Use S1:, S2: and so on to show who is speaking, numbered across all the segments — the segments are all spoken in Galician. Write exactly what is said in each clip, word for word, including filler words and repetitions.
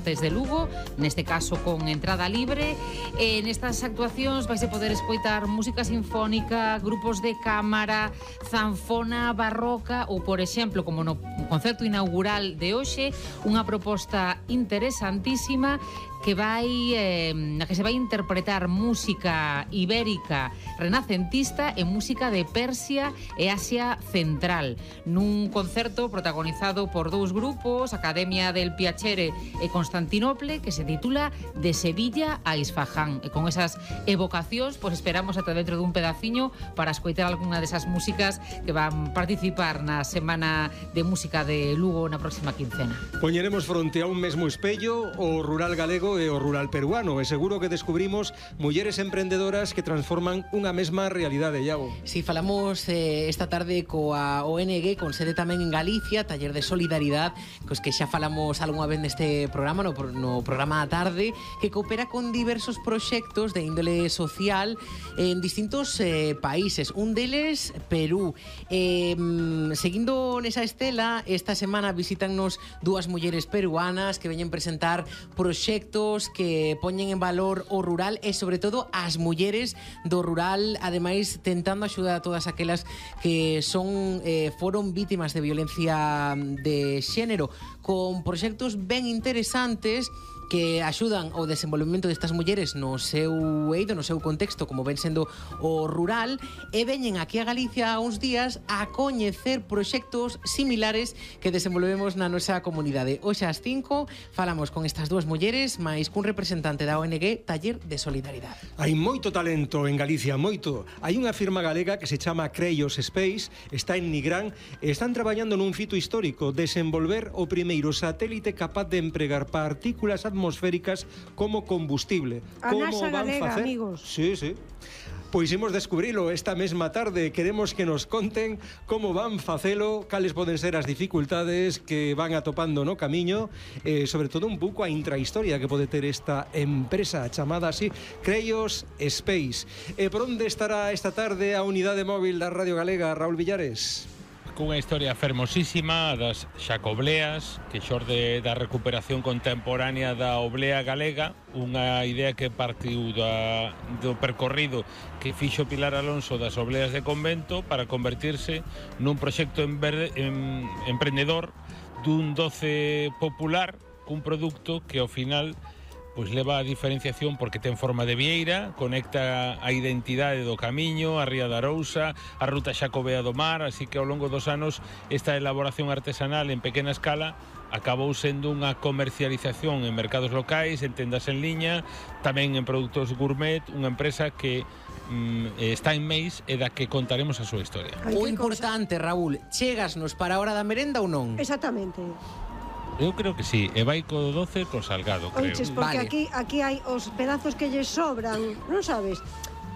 S1: Artes de Lugo, neste caso con entrada libre. E nestas actuacións vais a poder escoitar música sinfónica, grupos de cámara, zanfona barroca ou, por exemplo, como no concerto inaugural de hoxe, unha proposta interesantísima que vai eh, na que se vai interpretar música ibérica renacentista e música de Persia e Asia Central, nun concerto protagonizado por dous grupos, Academia del Piacere e Constantinople, que se titula De Sevilla a Isfahán. E con esas evocacións, pois esperamos ata dentro dun pedaciño para escoitar algunha desas músicas que van participar na Semana de Música de Lugo na próxima quincena.
S2: Poñeremos fronte a un mesmo espello o rural galego e o rural peruano, e seguro que descubrimos mulleres emprendedoras que transforman unha mesma realidade, Iago.
S3: Si, falamos eh, esta tarde coa O N G, con sede tamén en Galicia, Taller de Solidaridade, cos que xa falamos algunha vez neste programa, no, no programa da tarde, que coopera con diversos proxectos de índole social en distintos eh, países. Un deles, Perú. Eh, seguindo nesa estela, esta semana visítannos dúas mulleres peruanas que veñen presentar proxectos que poñen en valor o rural e, sobre todo, as mulleres do rural, ademais, tentando axudar a todas aquelas que son eh, foron vítimas de violencia de xénero, con proxectos ben interesantes que axudan ao desenvolvemento destas mulleres no seu eido, no seu contexto, como ven sendo o rural, e veñen aquí a Galicia a uns días a coñecer proxectos similares que desenvolvemos na nosa comunidade. Hoxe ás cinco falamos con estas dúas mulleres, máis cun representante da O N G Taller de Solidaridade.
S2: Hai moito talento en Galicia, moito. Hai unha firma galega que se chama Creyos Space, está en Nigrán, e están traballando nun fito histórico, desenvolver o primeiro satélite capaz de empregar partículas atmosféricas como combustible.
S4: A
S2: Como
S4: NASA
S2: van
S4: galega,
S2: facer?
S4: amigos.
S2: Sí, sí. Pois imos descubrilo esta mesma tarde. Queremos que nos conten como van facelo, cales poden ser as dificultades que van atopando no camiño, e sobre todo un pouco a intrahistoria que pode ter esta empresa chamada así Creyos Space. E por onde estará esta tarde a unidade móvil da Radio Galega, Raúl Villares?
S5: Cunha historia fermosísima das xacobleas, que xorde da recuperación contemporánea da oblea galega, unha idea que partiu da, do percorrido que fixo Pilar Alonso das obleas de convento para convertirse nun proxecto en verde, en, emprendedor dun doce popular cun produto que ao final pois leva a diferenciación porque ten forma de vieira, conecta a identidade do camiño, a Ría da Arousa, a ruta xacobea do mar, así que ao longo dos anos esta elaboración artesanal en pequena escala acabou sendo unha comercialización en mercados locais, en tendas en liña, tamén en produtos gourmet, unha empresa que mm, está en Meis e da que contaremos a súa historia.
S3: O importante, Raúl, chegasnos para a hora da merenda ou non?
S4: Exactamente.
S5: Eu creo que sí, e vai co doce co salgado, creo.
S4: Oiches, porque
S3: Vale.
S4: aquí aquí hai os pedazos que lles sobran, non sabes?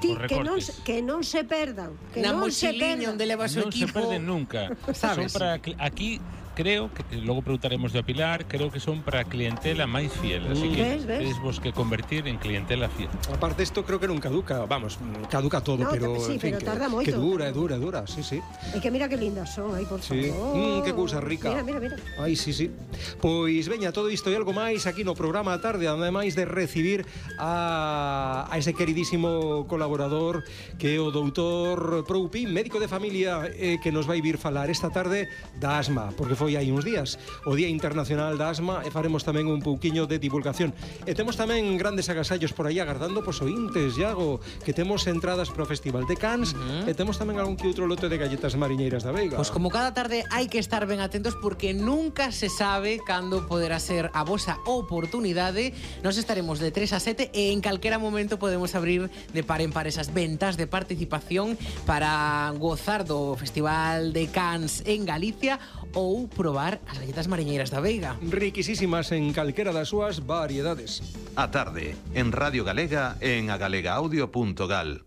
S4: Ti,
S5: Os
S4: que non
S5: recortes.
S4: se- que non se perdan, que
S3: Na
S4: non se
S3: mochiliña
S4: perdan.
S3: onde leva o seu
S5: Non se
S3: equipo.
S5: perden nunca.
S3: Sabes?
S5: Son para cli- aquí creo que logo preguntaremos de Pilar, creo que son para a clientela máis fiel, así que
S4: Ves, ves?
S5: tedes vos que convertir en clientela fiel.
S2: Aparte, isto creo que non caduca, vamos, caduca todo,
S4: No,
S2: pero
S4: sí,
S2: en fin,
S4: pero
S2: que,
S4: tarda moito.
S2: que dura, é dura, é dura, sí, sí.
S4: E que mira que lindas son, aí, por
S2: Sí. Mm,
S4: favor.
S2: que cousa rica.
S4: Mira, mira, mira.
S2: Ai, sí, sí. Pois veña, todo isto e algo máis aquí no programa da tarde, ademais de recibir a, a ese queridísimo colaborador que é o doutor Proupín, médico de familia, eh, que nos vai vir falar esta tarde da asma, porque foi hai uns días o Día Internacional da Asma, e faremos tamén un pouquiño de divulgación. E temos tamén grandes agasallos por aí agardando pos ointes, Iago, que temos entradas para o Festival de Cannes, uh-huh. e temos tamén algún que outro lote de galletas mariñeiras da Veiga.
S3: Pois como cada tarde hai que estar ben atentos porque nunca se sabe cando poderá ser a vosa oportunidade. Nos estaremos de tres a sete e en calquera momento podemos abrir de par en par esas ventas de participación para gozar do Festival de Cannes en Galicia ou probar as galletas mariñeiras da Veiga.
S2: Riquisísimas en calquera das súas variedades.
S6: A tarde, en Radio Galega, en agalegaaudio punto gal.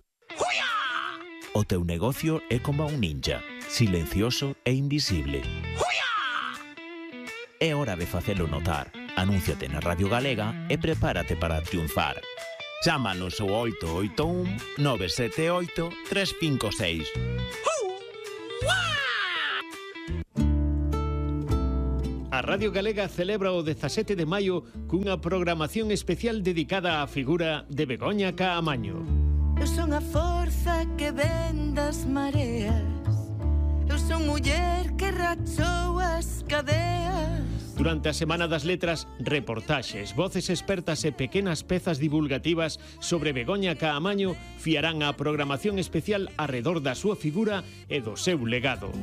S7: O teu negocio é como un ninja, silencioso e invisible. É hora de facelo notar. Anúnciate na Radio Galega e prepárate para triunfar. Chámanos ao oito oito un nove sete oito tres cinco seis.
S8: A Radio Galega celebra o dezasete de maio cunha programación especial dedicada á figura de Begoña Caamaño.
S9: Eu son a forza que ven das mareas, eu son muller que rachou as cadeas.
S8: Durante a Semana das Letras, reportaxes, voces expertas e pequenas pezas divulgativas sobre Begoña Caamaño fiarán a programación especial arredor da súa figura e do seu legado.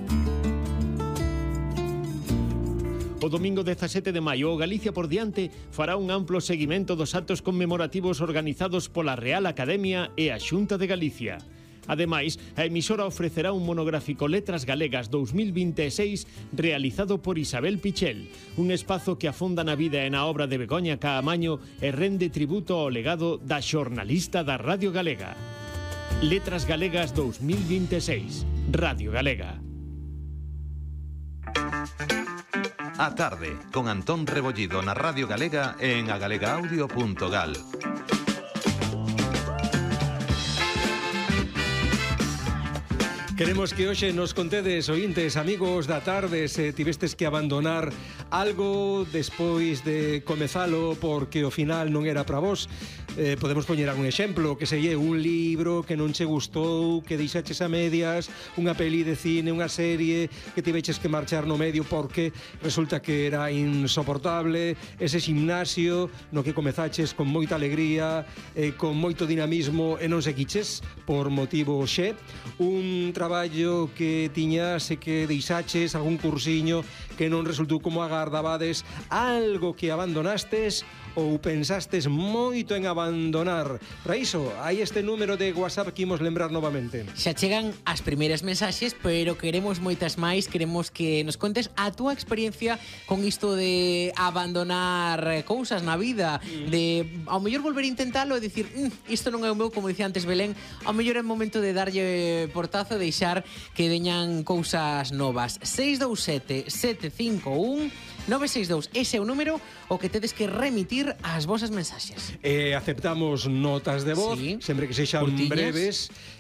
S8: O domingo dezasete de maio, o Galicia por diante fará un amplo seguimento dos actos conmemorativos organizados pola Real Academia e a Xunta de Galicia. Ademais, a emisora ofrecerá un monográfico Letras Galegas dous mil vinte e seis realizado por Isabel Pichel, un espazo que afonda na vida e na obra de Begoña Caamaño e rende tributo ao legado da xornalista da Radio Galega. Letras Galegas dous mil vinte e seis, Radio Galega.
S6: A tarde, con Antón Rebollido na Radio Galega e en agalega audio punto gal.
S2: Queremos que hoxe nos contedes, ointes, amigos da tarde, se tivestes que abandonar algo despois de comezalo porque ao final non era para vos. Eh, podemos poñer algún exemplo, que selle un libro que non che gustou, que deixaches a medias, unha peli de cine, unha serie que tiveches que marchar no medio porque resulta que era insoportable, ese gimnasio no que comezaches con moita alegría, eh, con moito dinamismo e non seguiches por motivo xe, un traballo que tiñas e que deixaches, algún cursiño que non resultou como agardabades, algo que abandonastes ou pensastes moito en abandonar. Para iso, hai este número de WhatsApp que imos lembrar novamente.
S3: Xa chegan as primeiras mensaxes, pero queremos moitas máis, queremos que nos contes a túa experiencia con isto de abandonar cousas na vida, de ao mellor volver a intentalo e dicir, mm, isto non é o meu, como dicía antes Belén, ao mellor é o momento de darlle portazo e deixar que veñan cousas novas. seis dous sete, sete cinco un, nove seis dous, ese é o número o que tedes que remitir as vosas mensaxes.
S2: Eh, aceptamos notas de voz, sí, sempre que sexan
S3: Curtiñas,
S2: breves,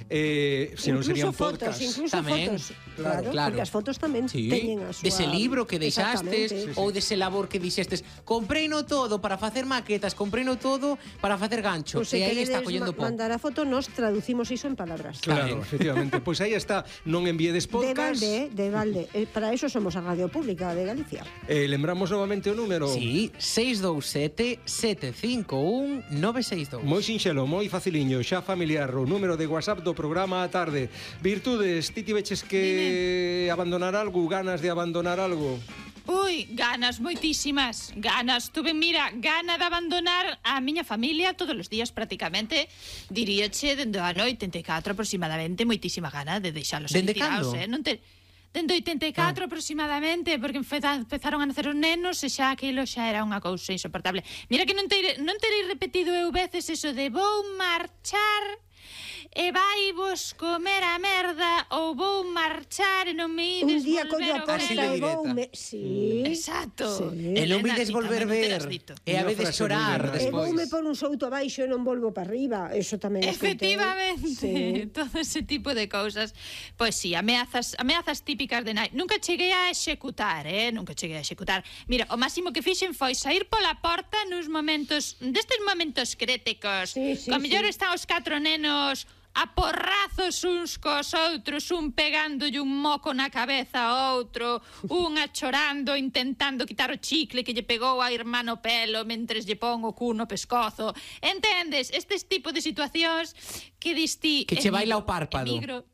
S2: eh, se non serían
S4: fotos,
S2: podcast.
S4: incluso
S3: Tamén.
S4: fotos. Claro,
S3: Claro.
S4: porque as fotos tamén
S3: Sí.
S4: teñen a súa...
S3: Dese libro que deixastes,
S4: Exactamente.
S3: ou dese labor que dixestes, compreino todo para facer maquetas, compreino todo para facer gancho.
S4: Pois se
S3: E aí está
S4: queredes
S3: collendo
S4: ma-
S3: po.
S4: mandar a foto, nos traducimos iso en palabras.
S2: Claro, efectivamente. Pois aí está, non enviedes
S4: De
S2: podcast.
S4: balde, eh, de balde. Eh, Para eso somos a Radio Pública de Galicia.
S2: Eh, lembramos novamente o número.
S3: Sí, seis dous sete, sete cinco un, nove seis dous.
S2: Moi sinxelo, moi faciliño, xa familiar, o número de WhatsApp do programa a tarde. Virtudes, ti tiveches que Dime. abandonar algo, ganas de abandonar algo?
S10: Ui, ganas moitísimas, ganas. Tuve, mira, gana de abandonar a miña familia todos os días prácticamente. Diríache, dende a noite oitenta e catro aproximadamente, moitísima gana de deixalos aí
S3: Dende
S10: tirados,
S3: cando?
S10: eh? Non te... Dende oitenta e catro ah. aproximadamente, porque empezaron a nacer os nenos e xa aquilo xa era unha cousa insoportable. Mira que non, te, non terei repetido eu veces eso de vou marchar e vai vos comer a merda ou vou marchar e non me ides
S4: Un día
S10: volver
S4: collo a
S10: a
S4: posta
S10: ver.
S4: e vou me... Sí.
S10: Exacto.
S4: Sí.
S3: E non vides
S10: Nena,
S3: volver
S10: ti tamén non
S3: ver.
S10: terás dito.
S3: E a
S2: Unha
S3: veces
S2: frase moi
S3: chorar
S2: verdade.
S4: E
S3: despois.
S4: voume por un souto abaixo e non volvo para arriba. Eso tamén escoitei.
S10: Efectivamente,
S4: Sí.
S10: todo ese tipo de cousas. Pois sí, ameazas, ameazas típicas de nai. Nunca cheguei a executar, eh? Nunca cheguei a executar. Mira, o máximo que fixen foi sair pola porta nos momentos, destes momentos críticos.
S4: Sí, sí,
S10: Co mellor
S4: sí.
S10: están os catro nenos a porrazos uns cos outros, un pegándolle un moco na cabeza a outro, unha chorando, intentando quitar o chicle que lle pegou a irmá no pelo mentres lle pon o cu no pescozo. Entendes? Estes tipo de situacións que diste...
S3: Que che baila o párpado.
S10: Emigro,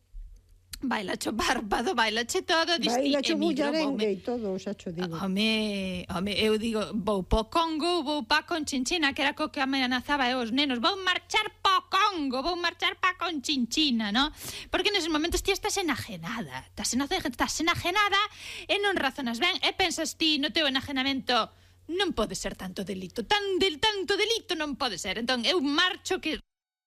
S10: baila cho párpado, baila che todo, diste
S4: Baila cho
S10: emigro,
S4: bullarengue
S10: voume-
S4: e todo, xa cho digo.
S10: Home, home, eu digo, vou po Congo, vou pa Conchinchina, que era co que amenazaba eu os nenos, vou marchar po Congo, vou marchar pa Conchinchina, no? Porque neses momentos ti estás enajenada, estás enajenada, estás enajenada e non razonas ben, e pensas ti no teu enajenamento, non pode ser tanto delito, tan del tanto delito non pode ser. Entón, eu marcho que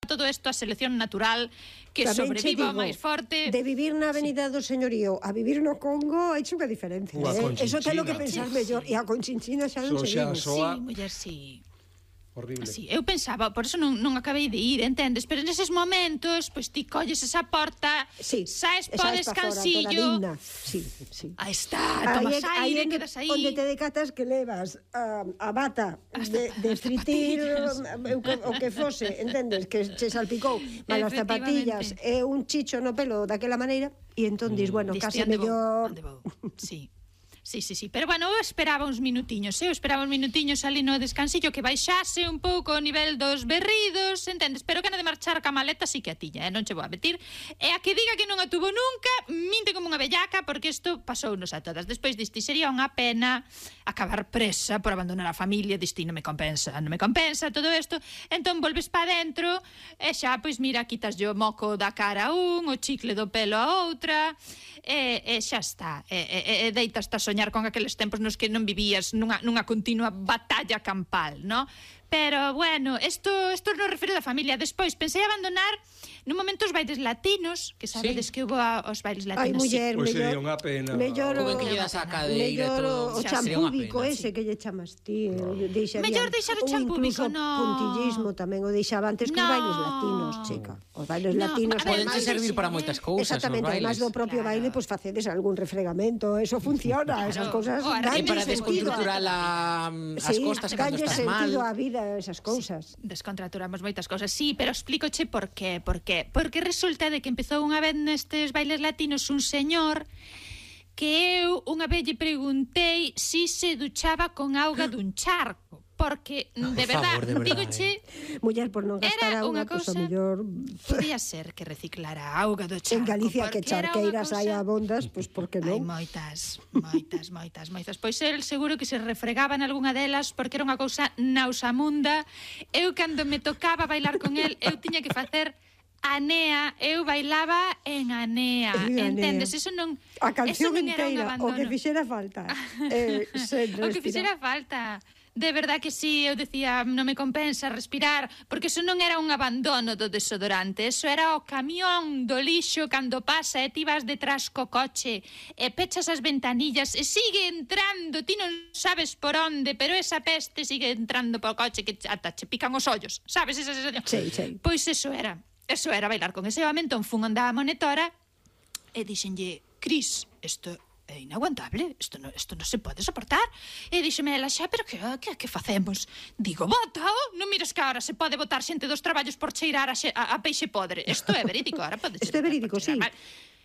S10: todo isto a selección natural, que
S4: Tamén che
S10: sobreviva o
S4: digo,
S10: máis forte.
S4: De vivir na Avenida do Señorío a vivir no Congo hai unha diferencia,
S2: Ou a
S4: eh? Eso ten
S2: Conchinchina.
S4: que pensar mellor. E a Conchinchina xa non
S2: So
S4: se
S2: xa
S4: digo.
S2: soa-
S10: Sí, muller, sí.
S2: Horrible.
S10: Sí, eu pensaba, por eso non, non acabei de ir, entendes? Pero neses momentos, pois ti colles esa porta,
S4: sí,
S10: saes po
S4: saes pa fora,
S10: descansillo.
S4: toda digna. Sí, sí.
S10: Aí está, tomas
S4: aí,
S10: aire,
S4: aí
S10: quedas aí.
S4: Onde te decatas que levas a, a bata de, de fritir o que fose, entendes? Que che salpicou malas zapatillas e un chicho no pelo daquela maneira e entón dis, bueno, case mellor...
S10: Sí. Sí, sí, sí, pero bueno, eu esperaba uns minutiños, eu esperaba uns minutiños ali no descansillo que baixase un pouco o nivel dos berridos, entendes? Pero que na de marchar ca maleta sí que a tiña, eh? Non che vou a metir. E a que diga que non a tuvo nunca, minte como unha bellaca, porque isto pasounos a todas. Despois diste, sería unha pena acabar presa por abandonar a familia, diste, non me compensa, non me compensa todo isto. Entón volves pa dentro e xa, pois mira, quitas yo o moco da cara a un, o chicle do pelo a outra, e, e xa está. E, e, e deitas a soñar con aqueles tempos nos que non vivías nunha, nunha continua batalla campal, no? Pero, bueno, isto, isto non refiro da familia. Despois, pensei abandonar nun momento os bailes latinos, que sabedes sí. que hubo os bailes latinos.
S4: Ai, muller,
S2: sí.
S4: mellor...
S2: Pois sería unha pena.
S4: Mellor o,
S3: que lle das a cadeira
S4: mellor
S3: todo.
S4: o champúbico ese sí. que lle chamas ti. No.
S10: Mellor deixar o champúbico,
S4: incluso
S10: no.
S4: puntillismo tamén o deixaba antes que
S10: no.
S4: os bailes latinos, chica. Os bailes
S10: no.
S4: latinos...
S3: Poden servir para moitas cousas,
S4: exactamente, además do propio claro. baile, pois pues, facedes algún refregamento, eso funciona, esas cousas...
S3: Para descontracturar as costas cando estás mal.
S4: Danlle sentido á vida, esas cousas.
S10: Sí, descontracturamos moitas cousas, sí, pero explícoche por qué, por qué. Porque resulta de que empezou unha vez nestes bailes latinos un señor que eu unha vez lle preguntei si se duchaba con auga dun charco. Porque, de verdad, dígoche...
S4: Muller, por non gastar auga, pois o mellor...
S10: Podía ser que reciclara a auga do charco.
S4: En Galicia que charqueiras hai abondas, pois por que non?
S10: Hai moitas, moitas, moitas, moitas. Pois el seguro que se refregaba en algunha delas porque era unha cousa nausamunda. Eu, cando me tocaba bailar con el, eu tiña que facer... Anea, eu bailaba en Anea, entendes? Eso non,
S4: a canción
S10: eso non era
S4: inteira, o que fixera falta. eh,
S10: o que fixera falta. De verdad que sí, eu decía, non me compensa respirar, porque eso non era un abandono do desodorante, eso era o camión do lixo cando pasa e ti vas detrás co coche e pechas as ventanillas e sigue entrando, ti non sabes por onde, pero esa peste sigue entrando polo coche que ata che pican os ollos, sabes esa sensación?
S4: Sí, sí.
S10: Pois eso era. Eso era bailar con ese home, entón fun andar a monitora e dixenlle, Cris, isto é inaguantable, isto non, isto non se pode soportar. E dixeme ela, xa, pero que, que, que facemos? Digo, bótao, non mires que ahora se pode botar xente dos traballos por cheirar a, xe, a, a peixe podre. Isto é verídico, ahora pode ser.
S4: Isto é verídico, sí. Mal.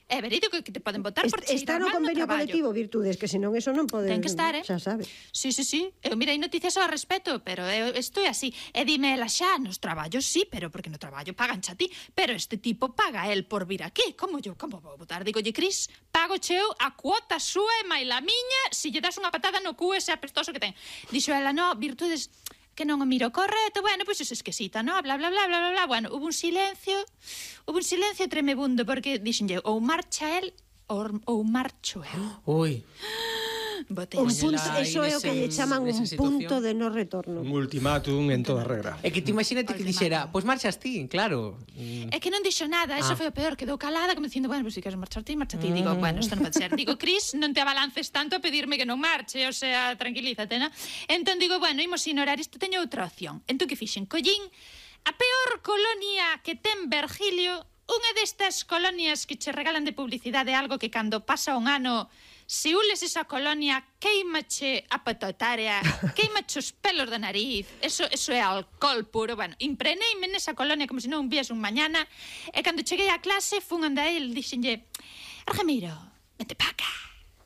S10: É verídico que te poden botar por cheirar
S4: Está no convenio colectivo, Virtudes, que senón eso non pode...
S10: Ten que estar, eh?
S4: Xa sabes.
S10: Sí, sí, sí. Eu mirei noticias ao respecto, pero eu estou así. E dime ela xa, nos traballos sí, pero porque no traballo pagan xa ti. Pero este tipo paga el por vir aquí. Como yo, como vou votar? Digo, lle, Cris, pago cheu a cuota súa e mai la miña se lle das unha patada no cu ese apestoso que ten. Dixo ela, no, Virtudes... que non o miro correcto, bueno, pois pues es esquisita, no? Bla, bla, bla, bla, bla, bla. Bueno, hubo un silencio, hubo un silencio tremebundo, porque dixenlle, ou marcha el, ou, ou marcho eu.
S3: Ui.
S10: Botei
S4: un punto, eso é o que lle chaman un punto de no retorno.
S2: Un ultimátum en toda regra.
S3: É que te imagínate que dixera, pois pues marchas ti, claro.
S10: É que non dixo nada, eso ah. foi o peor, quedou calada, como dicindo, bueno, pois pues, se queres marchar ti, marcha ti. Mm. Digo, bueno, isto non pode ser. Digo, Cris, non te abalances tanto a pedirme que non marche, o sea, tranquilízate, non? Entón digo, bueno, imos ignorar isto, teño outra opción. Entón que fixen? Collín a peor colonia que ten Virgilio, unha destas colonias que che regalan de publicidade algo que cando pasa un ano se ules esa colonia, queimache a patotárea, queimache os pelos da nariz, eso, eso é alcohol puro. Bueno, impreneime nesa colonia como se non vies un mañana, e cando cheguei á clase, fun anda el, dixenlle, Argemiro, vente pa acá,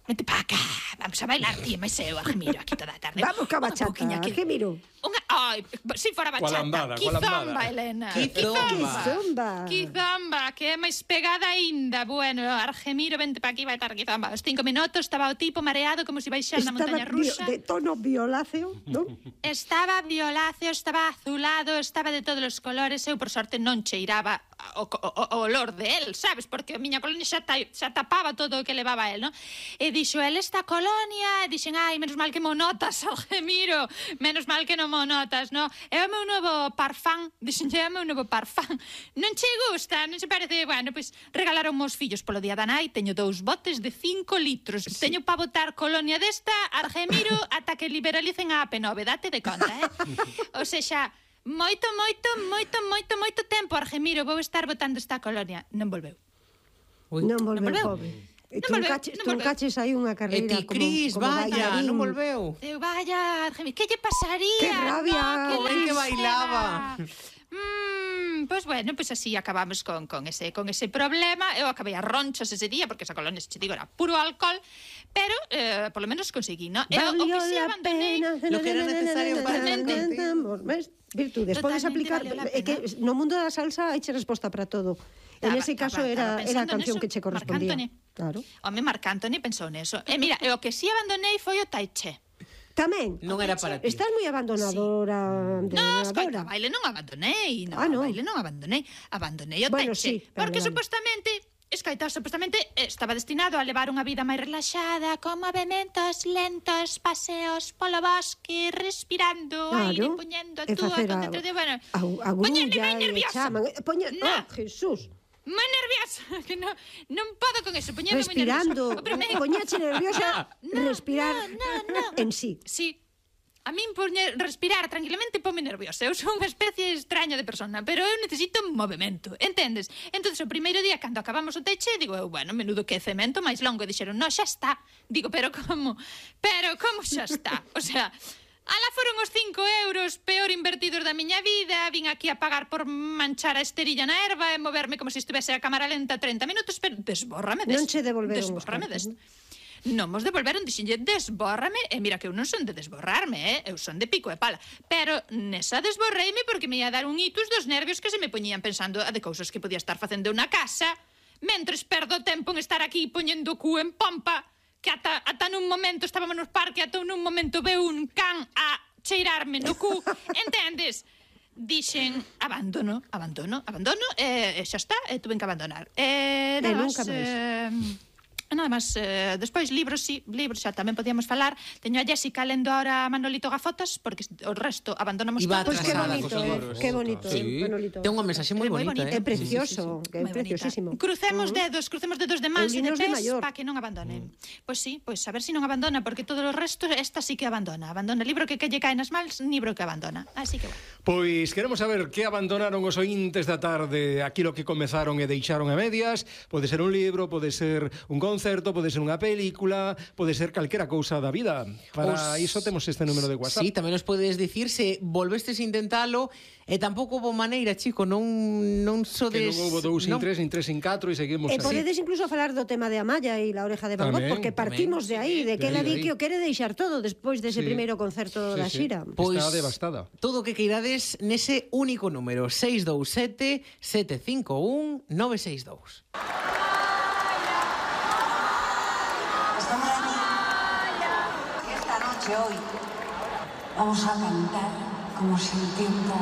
S10: vente pa acá, vamos a bailar, tío, máis eu, Argemiro, aquí toda a tarde.
S4: Vamos ca bachata, Argemiro.
S10: Unha, ai, si fora bachata, quizomba, Elena.
S4: Quizomba.
S10: Quizomba, que é máis pegada aínda. Bueno, Argemiro, vente pa aquí, vai estar quizomba. Os cinco minutos estaba o tipo mareado como se baixara na montaña rusa.
S4: De tono violáceo, non?
S10: Estaba violáceo, estaba azulado, estaba de todos os colores. Eu, por sorte, non cheiraba o, o, o olor de él, sabes? Porque a miña colonia xa, ta, xa tapaba todo o que levaba él, non? E dixo, el esta colonia, e dixen, ai, menos mal que mo notas, Argemiro, menos mal que non mo notas, no? É o meu novo parfán, dixen, é o meu novo parfán. Non che gusta, non se parece? Bueno, pois regalaron mos fillos polo día da nai, teño dous botes de cinco litros. Sí. Teño pa botar colonia desta, Argemiro, ata que liberalicen a A P nove, date de conta, eh? O Ou seja, moito, moito, moito, moito, moito tempo, Argemiro, vou estar botando esta colonia. Non volveu.
S4: Ui. Non volveu, pobre. E truncaches aí unha carreira
S3: como, Cris,
S4: como
S3: vaya,
S4: bailarín.
S3: non volveu.
S10: Eu, vaya, Argemiro, que lle pasaría?
S4: Que rabia,
S10: no,
S3: que, que bailaba.
S10: Mm, pois pues bueno, pois pues así acabamos con, con, ese, con ese problema. Eu acabei a ronchas ese día, porque esa colonia, se te digo, era puro alcohol, pero eh, por lo menos conseguí, ¿no? Eu, o que si abandonei...
S3: Lo que era necesario para
S4: ves? Virtudes, podes aplicar, é que no mundo da salsa hai che resposta para todo. En ese caso era, era a canción que che correspondía. Claro.
S10: Home, Marc Anthony pensou neso. E mira, o que si abandonei foi o Tai Chi.
S4: Tamén.
S3: Non era para ti.
S4: Estás moi abandonadora.
S10: Sí. No, escoita, baile non abandonei. No, ah, no. baile non abandonei. Abandonei o
S4: bueno,
S10: Tai Chi.
S4: Sí,
S10: porque
S4: vale.
S10: Supostamente... Escoita, supostamente estaba destinado a levar unha vida máis relaxada, con movimentos lentos, paseos polo bosque, respirando,
S4: claro,
S10: aire, poñendo a túa
S4: concentración,
S10: bueno,
S4: a grulla e chaman, poña,
S10: no.
S4: oh, Jesús.
S10: Moi nerviosa, que non, non podo con eso, poñendo
S4: respirando,
S10: moi nerviosa.
S4: poñache nerviosa, no, respirar
S10: no, no, no.
S4: en sí.
S10: Sí. A min poñer, respirar tranquilamente pome nerviosa. Eu sou unha especie extraña de persona, pero eu necesito movimento, entendes? Entonces o primeiro día, cando acabamos o teche, digo eu, bueno, menudo que cemento máis longo. E dixeron, no, xa está. Digo, pero como? Pero como xa está? O sea, ala foron os cinco euros peor invertidos da miña vida. Vin aquí a pagar por manchar a esterilla na erva e moverme como se estivese a cámara lenta trinta minutos, pero desbórrame des.
S4: Non che devolveron
S10: desbórrame des. Non mos devolveron, dixenlle, desbórrame. E mira que eu non son de desborrarme, eh? Eu son de pico e pala. Pero nesa desborreime porque me ia dar un hitus dos nervios que se me poñían pensando a de cousas que podía estar facendo na casa, mentres perdo tempo en estar aquí poñendo o cu en pompa, que ata, ata nun momento estábamos no parque, ata nun momento veu un can a cheirarme no cu, entendes? Dixen, abandono, abandono, abandono, e, e xa está, e tuve que abandonar. E,
S4: e nunca máis.
S10: Eh, Nada máis, eh, despois libros, sí, libros xa tamén podíamos falar. Teño a Jessica lendo ahora Manolito Gafotas, porque o resto abandonamos
S3: Iba
S10: todos.
S4: Pois que bonito, eh? Que bonito, sí. Manolito.
S3: Ten unha mensaxe moi bonita, eh?
S4: É precioso, que é preciosísimo.
S10: Crucemos dedos, crucemos dedos de mans e de pés para que non abandonen. Pois sí, pois a ver se non abandona, porque todo o resto esta sí que abandona. Abandona libro que que lle cae nas mans, libro que abandona. Así que bueno.
S2: Pois queremos saber que abandonaron os ointes da tarde, aquilo que comezaron e deixaron a medias. Pode ser un libro, pode ser un concerto, pode ser unha película, pode ser calquera cousa da vida. Para os... iso temos este número de WhatsApp.
S3: Sí, tamén nos podes dicir se volvestes a intentalo e tampouco houve maneira, chico, non non sodes...
S2: Que non houve dous sin tres, sin tres sin catro e seguimos
S4: e
S2: así.
S4: E podedes incluso falar do tema de Amaya e la oreja de Van Gogh, tamén, porque partimos tamén, de aí, de que ela di que o quere deixar todo despois dese sí. primeiro concerto sí, da xira.
S2: Sí. Pois, está devastada.
S3: Todo o que queirades nese único número, seis dous sete, sete cinco un, nove seis dous.
S11: Hoy vamos a cantar como si el tiempo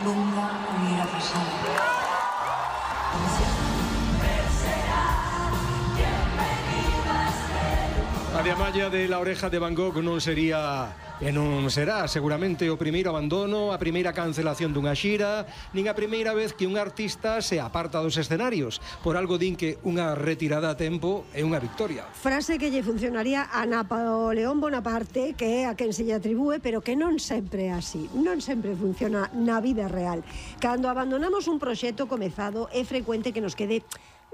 S11: nunca hubiera pasado.
S2: A de Amaya de La Oreja de Van Gogh non sería e non será seguramente o primeiro abandono, a primeira cancelación dunha xira, nin a primeira vez que un artista se aparta dos escenarios. Por algo din que unha retirada a tempo é unha victoria.
S4: Frase que lle funcionaría a Napoleón Bonaparte, que é a quen se lle atribúe, pero que non sempre é así. Non sempre funciona na vida real. Cando abandonamos un proxecto comezado, é frecuente que nos quede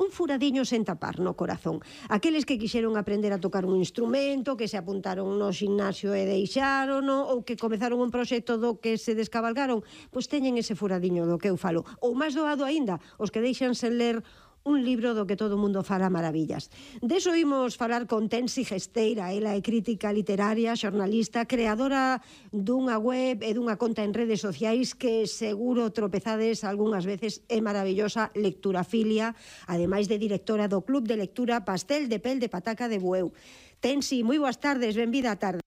S4: un furadiño sen tapar no corazón. Aqueles que quixeron aprender a tocar un instrumento, que se apuntaron no ximnasio e deixaron, ou que comezaron un proxecto do que se descabalgaron, pois teñen ese furadiño do que eu falo. Ou máis doado aínda, os que deixan sen ler un libro do que todo o mundo fala maravillas. Deso imos falar con Tensi Gesteira. Ela é crítica literaria, xornalista, creadora dunha web e dunha conta en redes sociais que seguro tropezades algunhas veces. É maravillosa, Lecturafilia, ademais de directora do Club de Lectura Pastel de Pel de Pataca de Bueu. Tensi, moi boas tardes, benvida a tarde.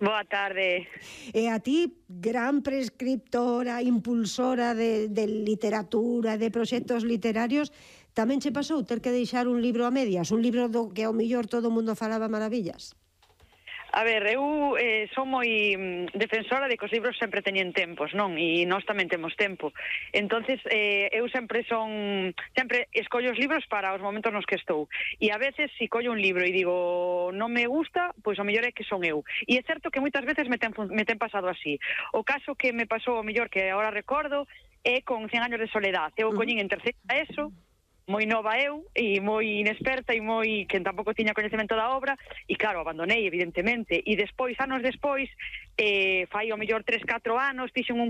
S12: Boa tarde.
S4: E a ti, gran prescriptora, impulsora de, de literatura, de proxectos literarios, tamén che pasou ter que deixar un libro a medias, un libro do que ao mellor todo o mundo falaba maravillas?
S12: A ver, eu eh, son moi mm, defensora de que os libros sempre teñen tempos, non? E nós tamén temos tempo. Entonces, eh, eu sempre son... Sempre escollo os libros para os momentos nos que estou. E a veces, se collo un libro e digo non me gusta, pois o mellor é que son eu. E é certo que moitas veces me ten, me ten pasado así. O caso que me pasou o mellor que agora recordo é con cien años de soledad. Eu coñín en terceira eso, moi nova eu, e moi inexperta e moi que tampouco tiña coñecemento da obra, e claro, abandonei, evidentemente, e despois, anos despois, eh, fai o mellor tres, catro anos, fixen un